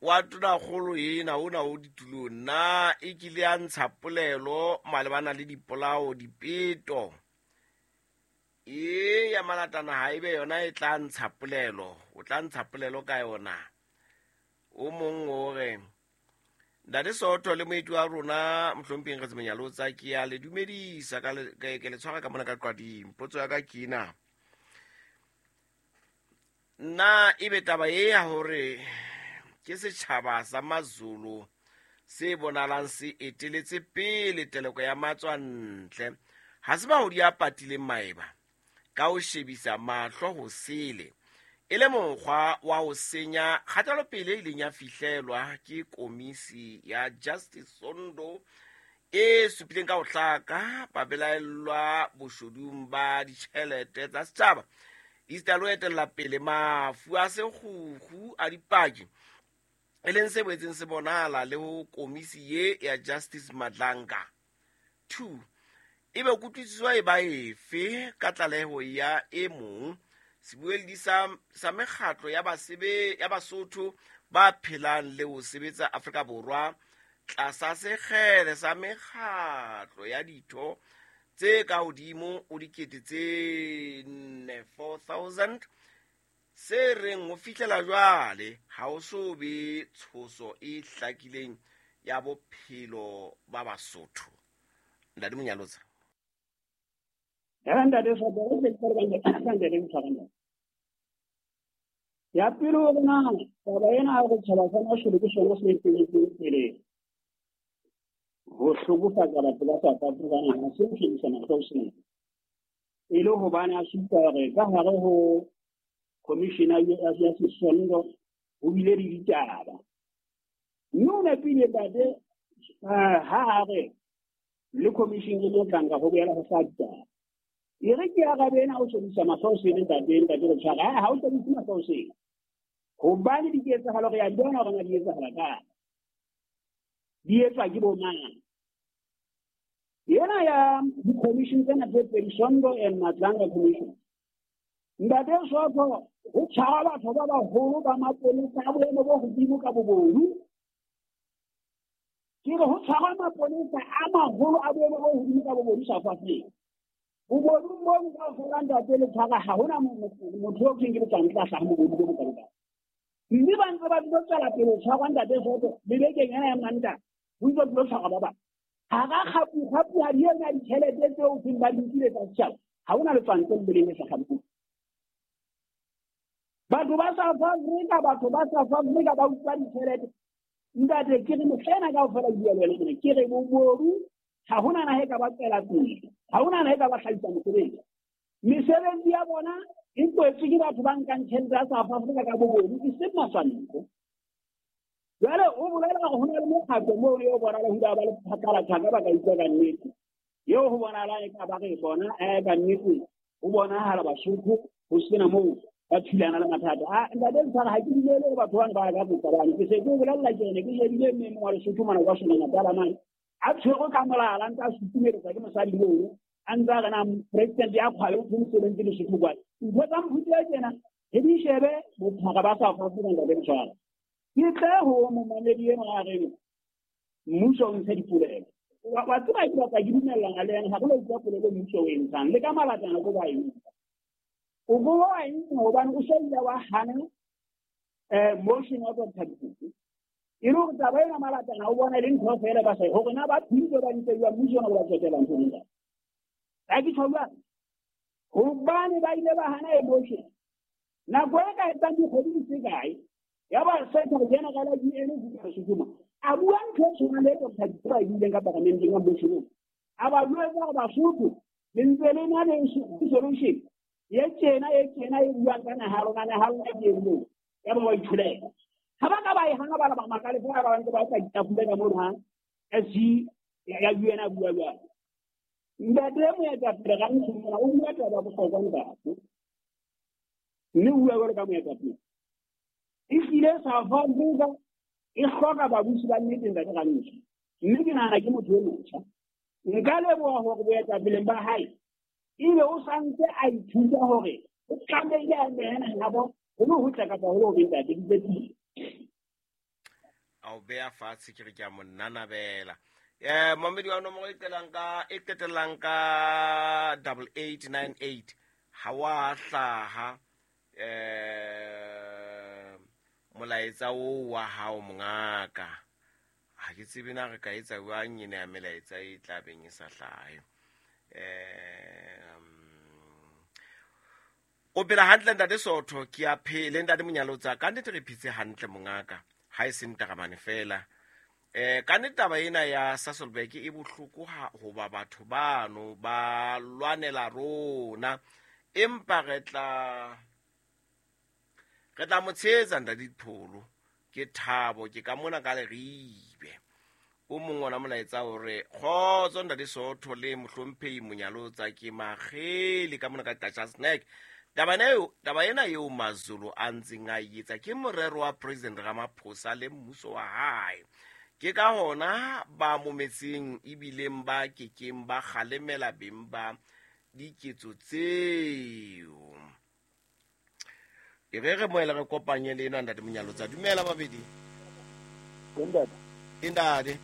wa tonakgolo ena ona o ditulong na e kile ya ntsha polelo malebana le dipolao, dipeto e ya malatana, ha ebe yona e tla ntsha polelo, o tla ntsha polelo ka yona. O mong o re Ntate Soto le moeti wa rona mohlompheng Kgotsi Monyalotsa, ke a le dumedisa ka ke le tshwara ka mona ka qwading. Potso ya ka ke ena, na ebe taba e ya hore ke setjhaba sa Mazulu se bonalang se eteletse pele teleko ya matswantle, ha se mahodi a patileng maeba ka ho shebisa mahlo ho sele, e le mokgwa wa ho senya kgatelopele e ileng ya fihlelwa ke komisi ya Justice Zondo E supileng ka ho hlaka babelaellwa boshodung ba ditjhelete tsa setjhaba esita le ho etella pele mafu a sekgukgu a dipaki, e leng se boetseng se bonahala le ho komisi ye ya Justice Madlanga. 2 ebe kutlwisiso e ba efe ka tlaleho ya e mong sebueledi sa mekgatlo ya Basotho ba phelang le ho sebetsa Afrika Borwa tlasa sekgele sa mekgatlo ya ditho tse ka hodimo ho 4 000 se reng ho fihlela jwale ha ho so be tshoso e hlakileng ya bophelo ba Basotho. Ntate Monyalotsa. Ntate ya pele ho rona taba ena ya hore tjhaba sa masholu ke sona se eteletseng pele ho hlokofatsa batho ba South Africa ha se ho shebisa mahlo sena, e le hobane a supa hore ka hare ho commissioner ya Sesondo ho bile le ditaba. Mme o nepile ntate ha a re le commission e Madlanga ho boela ho sa ditaba. E re ke arabe ena o shebisa mahlo sena ntate ntate re ha o shebise mahlo sena hobane diketsahalo re ya di bona hore na di etsahala kae, di etswa ke bo mang. Yena ya di-commission tsena tse pedi, Sondo and Madlanga Commission, ntate Sotho ho tshwara batho ba baholo ba mapolesa a boemo bo hodimo ka bobodu. Ke re ho tshwara mapolesa a maholo a boemo bo hodimo ka bobodu South Africa. Bobodu bo kaofela ntate le tshwara ha hona motho eo ke letsang tla hlaha bobodu bo bokalokalo. Mme ba ntse ba tlo tswela pele ho tshwarwa ntate Sotho le bekeng ena ya Mantaha ho ntse tlo tshwarwa ba bang. Hara kgapu ha di ena ditjhelete tseo seng ba di nkile tsa setjhaba, ha hona letswantle le leng le sa kgapu. Batho ba South Africa, batho ba South Africa ba utlwa ditjhelete. Ntate ke re mohla ena kaofela ke bua le wena mona, ke re bobodu ha hona naha e ka ba tswela pele, ha hona naha e ka ba hlahisa mosebetsi. Mesebetsi ya bona e kwetswe ke batho ba nkang tjhelete ya South Africa ka bobodu, e seng matswantle. Jwale o bolela hore ho na le mokgatlo moo eo bonahala ho ba le phatlalatjhaka ba ka utlwa ka nnete. Eo ho bonahalang e ka ba re bona ka nnete ho bonahala Basotho ho sena moo ba thulana le mathata. Ntate Ntshwara ha ke dumele hore batho bana ba ka botsa bane. Ke se ke o bolella ke ene ke shebile mme mong wa Lesotho mona kwa Sona Natala mane. A tshwerwe ka molala ntse a sutumeletsa ke mosadi mono. A ntse a re na president ya kgwale o thwe mosebetsi Lesotho kwane. Ntho tsa mofuta ya tjena re di shebe bophara ba South Africa ntate Ntshwara. Ke tle ho momamedi enwa a reng mmuso o ntshe dipolelo. Wa tseba ke batla ke dumellana le yena, ha re lo utlwa polelo mmuso o e ntshang le ka malatana ko ba e ntsha. O bo wa e ntsha hobane o sa ile wa hana motion wa Dr. Dikoko. E le hore taba ena malatana o bona e le ntho feela ba sa hore na ba thuntse ba ntse jwang mmuso ona o ba tswetelang ntho ena. Ha ke tjho jwang? Hobane ba ile ba hana motion. Nako e ka etsang dikgwedi di se kae, ya ba Secretary General ya UN ho Sesotho a bua ntho e tshwanang le Dr. Dikoko a e buileng ka paramenteng ya motion. A ba jwetsa hore Basotho le ntse le na le solution ye tjena e tjena e buang ka naha ya lona, naha ya lona ke e moo. Ya ba ba itholela. Ha ba ka ba e hana ba ba makale feela ba ntse ba sa itapole ka mono ha SG ya UN a bua jwalo. Ntate moetapele ga ntsho mona o bua taba ya bohlokwa ntate. Mme o bua jwalo ka moetapele. Ehlile South Africa e hloka babusi ba nnete ntate Rantsho. Mme ke nahana ke motho e motjha. Nka leboha hore boetapeleng ba hae ebe o santse a ithuta hore o tlamehile a nehana habo ho le hotle kapa ho le hobe ntate ke tsepile. A o beha fatshe ke re ke a mo nanabela. Momedi wa nomoro e qetellang ka 8898 ha wa hlaha molaetsa oo wa hao mongaka. Ha ke tsebe na re ka etsa jwang ena ya melaetsa e tla beng e sa hlahe. O phela hantle ntate Sotho, ke a phele ntate Monyalotsa, ka nnete re phetse hantle mongaka, ha e se ntaramane fela. Ka nnete taba ena ya Sasolburg e bohloko hoba batho bano ba lwanela rona, empa re tla mo tshehetsa ntate Dipholo. Ke thabo ke ka mona ka Leribe. O mong ona molaetsa hore kgotso ntate Sootho le mohlomphehi Monyalotsa ke Makgele ka mona ka Qacha Snack. Taba ena eo Mazulu a ntseng a e etsa ke morero wa President Ramaphosa le mmuso wa hae. Ke ka hona ba mometseng ebileng ba kekeng ba kgalemela beng ba diketso tseo. E re re moela re kopanye le ena ntate Monyalotsa. Dumela babedi. Ntate. Ntate.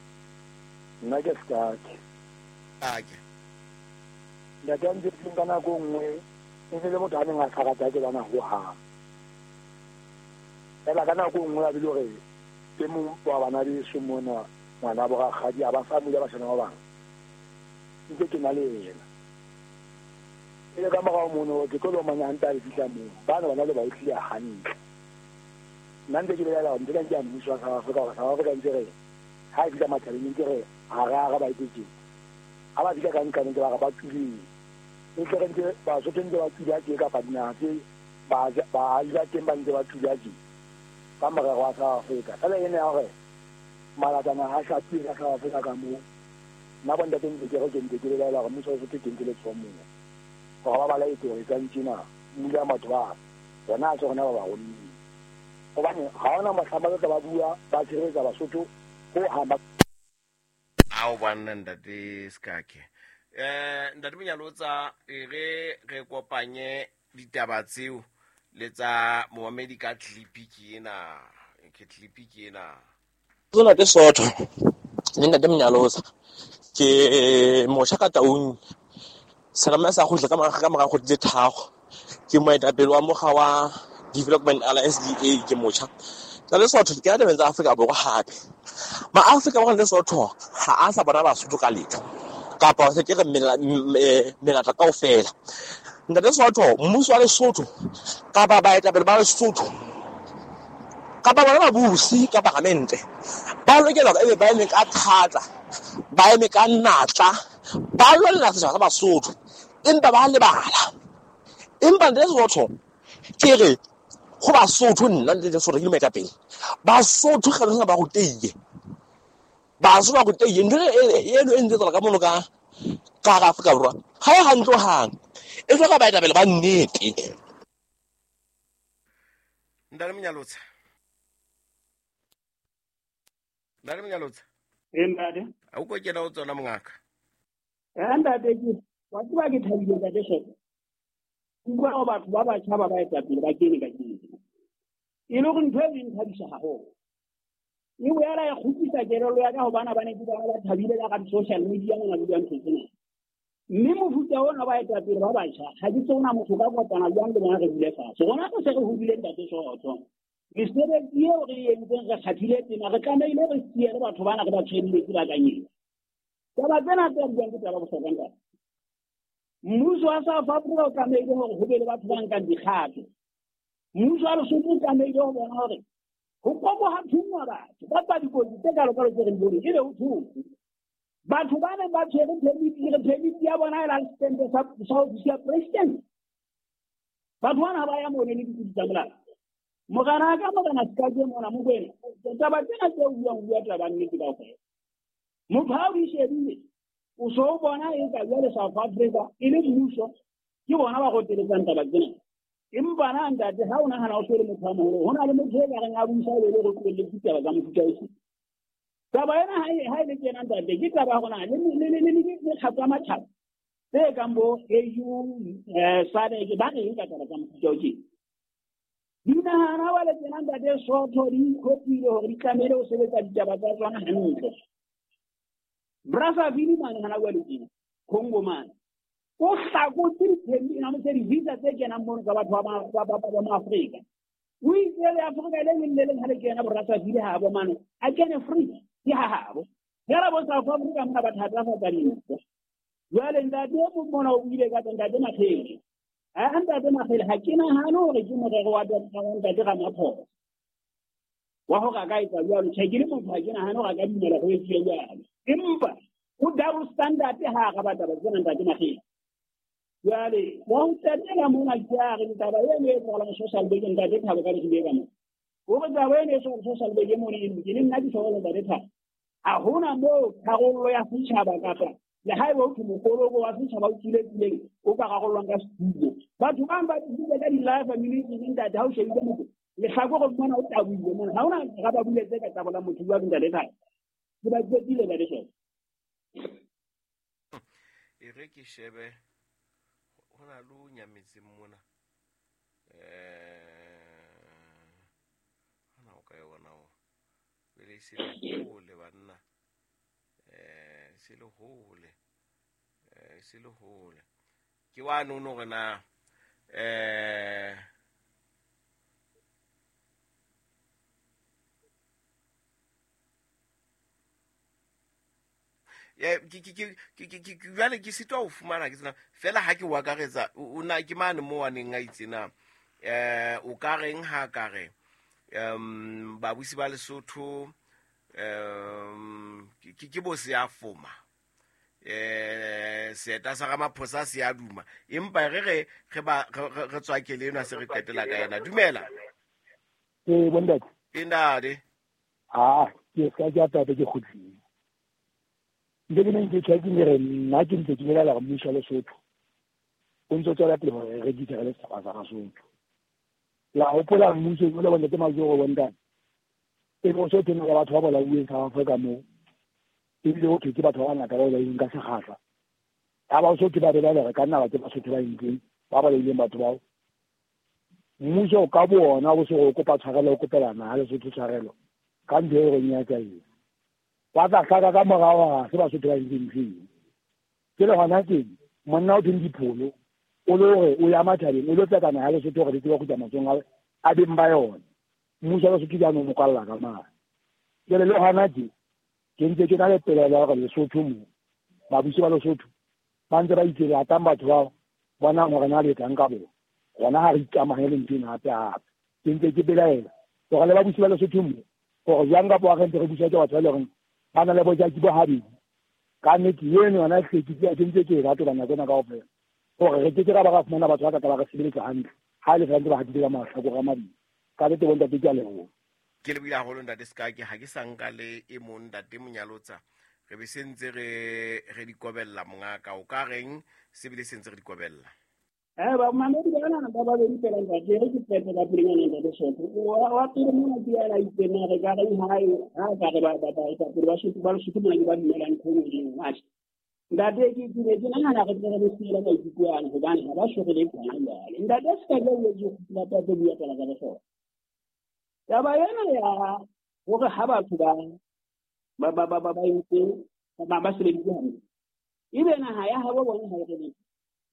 Nna ke Sekake. Ake. Ntate a ntse ka nako nngwe e ne le motho a neng a sa rata ke bana hohang. Fela ka nako nngwe a bile hore ke mong wa bana beso mona ngwana bo rakgadi a ba sa mule bashana ba bang. Ntse ke na le yena. E le ka morao mono ke tlo lomanya hantle a le fihla moo. Bana bana le ba utlwile hantle. Nna ntse ke belaela hore ntse ka nke mmuso wa South Africa hore South Africa ntse re ha e fihla matjhabeng ntse re ha re ara ba etsetse. Ha ba fihla ka nqane ntse ba re ba tswile. E tle re ntse Basotho ntse ba tswile tje kapa dinaha tse baahi ba teng ba ntse ba tswile tje ka morero wa South Africa. Fela ena ya hore malatana ha hlapile ka South Africa ka moo. Nna bo ntate ntse ke re ke ntse ke belaela hore mmuso wa Lesotho ke ntse letsoho moo. Hore ba ba laetse hore etsang tjena, mmula batho ba rona ha se rona ba ba rommeng. Hobane ha hona mohla ba tla ba bua ba tshireletsa Basotho ho hang ba. Ao banna ntate Sekake. Ntate Monyalotsa e re re kopanye ditaba tseo le tsa momamedi ka clip ke ena. Ke clip ke ena. Tsona ke Sootho le ntate Monyalotsa. Ke motjha ka Taung. Serame sa kgutla ka mora kgwedi tse tharo. Ke moetapele wa mokga wa Development Alliance DA ke motjha. Tsa Lesotho ke tabeng tsa Afrika Borwa hape. Ma Afrika Borwa le Lesotho ha a sa bona Basotho ka letho. Kapa se ke re melata kaofela. Ntate Sootho, mmuso wa Lesotho kapa baetapele ba Lesotho kapa bona babusi ka paramente ba lokela hore ebe ba eme ka thata, ba eme ka natla, ba lwanela setjhaba sa Basotho empa ba lebala. Empa ntate Sootho ke re ho Basotho nna ntate Sootho ke le moetapele. Basotho kgale ba rutehile. Basotho ba rutehile. Ntho eno e ntse tswela ka mono ka hara Afrika Borwa ha e hantle hohang. E hloka baetapele ba nnete. Ntate Monyalotsa. Ntate Monyalotsa. Ntate. Ha o ko kena ho tsona mongaka. Ntate ke wa tseba ke thabile ntate Sootho. Utlwa hore batho ba batjha ba baetapele ba kene ka kene. E le hore ntho e nthabisa haholo. E boela e kgutlisa kelello ya ka hobane ba ne ke bona ba thabile ka di-social media mona le ntho tsena. Mme mofuta ona baetapele ba batjha ha ke tsona motho ka kopana jwang le bona re dule fatshe. Rona re se re hodile ntate Sootho. Mesebetsi eo re e entseng re kgathile tema re tlamehile re siele batho bana re ba tshwenetse ba kanyeng. Taba tsena tse buang ke taba bohlokwa ntate. Mmuso wa South Africa o tlamehile hore ho be le batho ba nkang dikgato. Mmuso wa Lesotho o tlamehile ho bona hore ho kobo ha thungwa batho kapa dikotsi tse kalokalo tse re di boneng ebe ho thotse. Batho ba neng ba tshwere permit ya bona e la setempe sa ofisi ya president. Batho bana ha ba ya mone le dikotsi tsa molao. Morena ka morena Sekake mona Mokwena. Taba tsena tse o buang bua taba nnete kaofela. Motho ha o di shebile o so o bona e ka jwale South Africa e le mmuso ke bona ba roteletsang taba tsena. Empa na ntate ha o nahana o se le motho a moholo ho na le motho e ka reng a busa e le go tlohelletse ditaba tsa mofuta o. Taba ena ha e le tjena ntate ke taba ya rona le mekgatlo ya matjhaba tse kang bo AU SADC ba reng ka taba tsa mofuta o tjena. Dinahana ba le tjena ntate Sootho di ikhopile hore di tlamehile ho sebetsa ditaba tsa tsona hantle. Brazzaville mane hana jwale tjena Congo mane o hlakotse di-visa tse kenang mono tsa batho ba Maafrika. O itse le Afrika le leng le leng ha le kena Brazzaville ha bo mane a kene free ke ha habo. Fela bo South Africa mona ba thatafatsa dintho. Jwale ntate o mong mona o buile ka ntate Makhele. Ha ntate Makhele ha ke nahane hore ke morero wa ntate Ramaphosa wa hore a ka etsa jwalo. Tjhe ke le motho ha ke nahane hore a ka dumela ho etsuwe jwalo. Empa ho double standard ha araba taba tsena ntate Makhele. Jwale wa ho qetela mona ke a re taba eno e etsahalang social media ntate Thabo ka le ka mona. Hore taba eno e social media mona e lokile nna ke hlokomela ntate Thabo. Ha hona moo tharollo ya setjhaba kapa le haeba ho thwe mokoloko wa setjhaba o tswile tseleng o ka rarollwang ka setulo. Batho bang ba tswile ka di-life ammunition, ntate, ha o shebile motho lehlakore mona o taboile mona, ha hona raba buletse ka tabola motho jwalo, ntate Thabo. Ke ba qetile, ntate Soto. E re ke shebe ho na le o nyametseng mona, hana o ka yona o pele se le hole banna, se le hole, se le hole ke wa nono hore na jwale ke sitwa ho fumana ke tsena fela ha ke o akaretsa o na ke mane mo waneng a itse na o ka reng ha ka re babusi ba Lesotho ke bo se a foma seeta sa Ramaphosa se a duma, empa re ba re tswakele enwa se re qetela ka yena. Dumela. Ee, bontate. E ntate. A ke ska ke atate ke kgutlile ntse ke neng ke tjha ke re nna ke ntse ke belela gore mmuso wa Lesotho o ntse o tswela pele gore re rekise re le setjhaba sa Basotho. La hopola mmuso o le bontate Majoro, bontate, e bo so teng ka batho ba bolauweng South Africa moo, ebile ho thwe ke batho ba bangata ba bolailweng ka sekgahla. Ya Basotho ba belaela re ka nna ba ke Basotho ba entseng ba bolaileng batho bao. Mmuso ka bo ona o se go kopa tshwarelo, o kopela naha Lesotho tshwarelo ka ntho e reng ya tsa eng, ba tla hlaka ka morao ga se Basotho ba entseng ntho eo. Ke le hona teng monna o thweng Dipholo o le hore o ya matjhabeng o lo tseka naha Lesotho gore di tsebe go tswa matsohong a beng ba yona. Mmuso wa Lesotho jaanong mo kwalla ka mane. Jwale le hona tje ke ntse ke na le pelaelo ya hore Lesotho mo babusi ba Lesotho ba ntse ba itse latang batho bao bonang hore na le etsang ka bona gona ga re ikamahanye le ntho ena hape hape. Ke ntse ke belaela hore le babusi ba Lesotho mo gore jwang kapa wa re ntse re buswa ke batho ba e leng horeng ba na le bojaki bo habedi. Ka nnete eno yona hlwekile, ke ntse ke e rata nako ena kaofela gore re ke ke ra ba ra fumana batho ba ka ba re sebeletsa hantle ha e le santse ba hatile ka mahlakore a mabedi. Ka nnete bontate, ke a leboha. Ke lebohile haholo, ntate Sekake. Ha ke sa nka le e mong, ntate Monyalotsa, re be se ntse re di kobella. Mongaka, o ka reng se bile se ntse re di kobella? Bamamedi bana ba babedi fela, ntate, re ke qete ka pelenyana, ntate Soto. Wa pele mona ke yana itse na re ka reng ha ha ka re ba ba baetapele ba Sotho ba Lesotho mona ke ba dumelang ntho e nngwe le e nngwe. Atjhe ntate, ke ne ke nahana re tle re siele maikutlo ana hobane ha ba so re le khona jwale. Ntate, se ka jwale ke kgutla tsa bua taba tsa bohlokwa. Taba ena ya hore ha batho ba entse ba sebeditse hantle, ebe naha ya habo bona ha e re letho,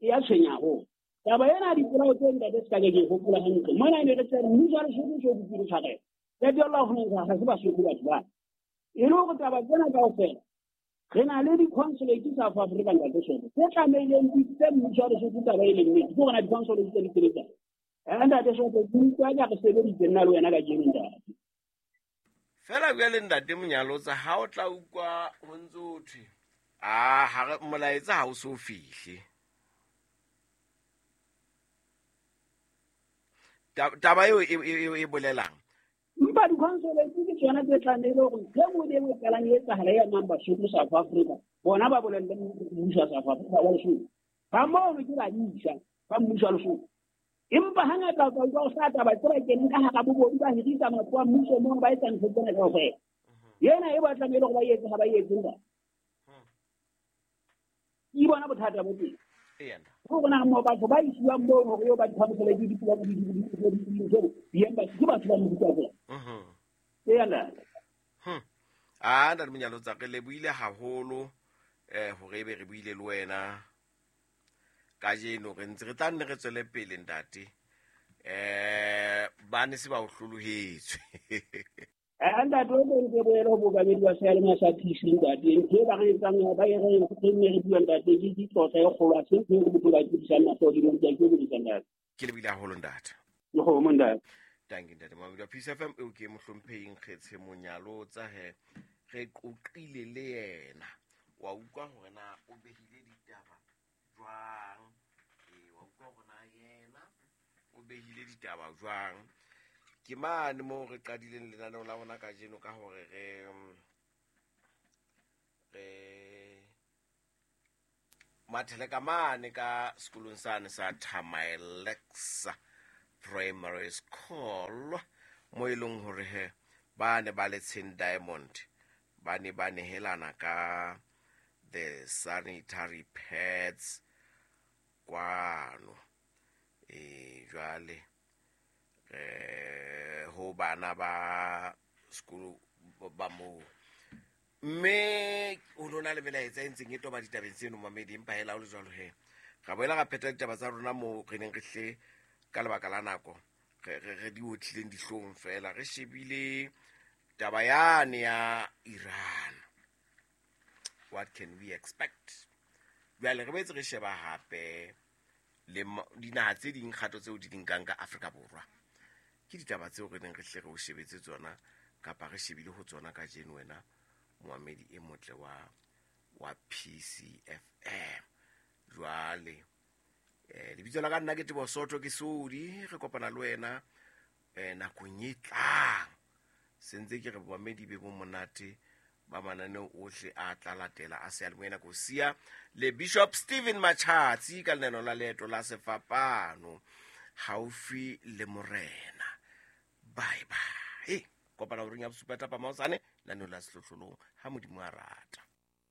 e ya tshwenya haholo. Taba ena ya dipolao tse, ntate, se ka ke hopola hantle mona ne re tsere mmuso wa Lesotho o so kopile tshwarelo, qetella ho fumana ha se Basotho batho bana. E le hore taba tsena kaofela re na le di-consulate South Africa, ntate Soto, tse tlamehileng di tse mmuso wa Lesotho taba e leng nnete ke hore na di-consulate tse di sebetsang. Ntate Soto, ke utlwa ka re sebeditse nna le wena kajeno, ntate. Fela bjale, ntate Monyalotsa, ha o tla utlwa ho ntse ho thwe a ha re molaetsa ha o so fihle. Taba eo e bolelang? Empa di-consulate ke tsona tse tlamehile hore ntho e nngwe le e nngwe e qalang e etsahala e amang Basotho South Africa, bona ba bolelle mmuso wa South Africa wa Lesotho. Ba mono ke badisa ba mmuso wa Lesotho, empa hangata o tla utlwa o sa taba tse ba keneng ka hara bobodu, ba hirisa matlo a mmuso mono, ba etsa ntho tsena kaofela. Ena e ba tlamehile hore ba etse ha ba etse, ntate. Ke bona bothata bo teng. Eya. Ho bona mo batho ba isiwang moo hore eo ba di-consulate di-embassy ke batho ba mofuta fela. Eya, ntate. A ntate Monyalotsa, re lebohile haholo hore ebe re buile le wena kajeno. Re ntse re tla nne re tswele pele, ntate, ba ne se ba o hlolohetswe. Ntate, o ntse boele ho bokabedi wa seyalemoya sa PC, ntate. Ntho e ba re etsang ba e re re nne re bua, ntate, ke tlotla e kgolo, ha se ntho e re motho ba tsebisang mahlo godimo. Ke a ikokobetsa, ntate. Ke lebohile haholo, ntate. Ke kgomo, ntate. Tanki, ntate Mamedi wa Peace FM. Eo ke mohlomphehing Kgetshe Monyalotsa he re qoqile le yena. Wa utlwa hore na o behile ditaba jwang, ee, wa utlwa hore na yena o behile ditaba jwang. Ke mane moo re qadileng lenaneo la rona kajeno ka hore re Re mathele ka mane ka sekolong sane sa Thamaelexa Primary School, mo e leng hore he ba ne ba le Tsheng Diamond ba ne ba nehelana ka the sanitary pads kwano. E jwale ho bana ba sekolo ba moo, mme ho lona le melaetsa e ntseng e toba ditabeng tseno mamedi. Empa hela ho le jwalo he, ra boela ra phetha ditaba tsa rona moo re neng re hle ka lebaka la nako re di otlileng dihlong fela. Re shebile taba yane ya Iran, what can we expect? Jwale re boetse re sheba hape le dinaha tse ding, kgato tseo di di nkang ka Afrika Borwa. Ke ditaba tseo re neng re hle re o shebetse tsona kapa re shebile ho tsona kajeno, wena moamedi e motle wa PCFM. Jwale lebitso la ka nna ke Tebo Soto, ke Sodi. Re kopana le wena nakong e tlang. Sentse ke re boamedi be bo monate ba mananeo ohle a tla latela a seyalemoya nako sia le Bishop Stephen Machatsi ka lenaneo la Leeto la Sefapano, haufi le Morena. Bye bye, kopana horeng ya bosupa thapama hosane lenaneo la Sehlohlolong, ha Modimo a rata.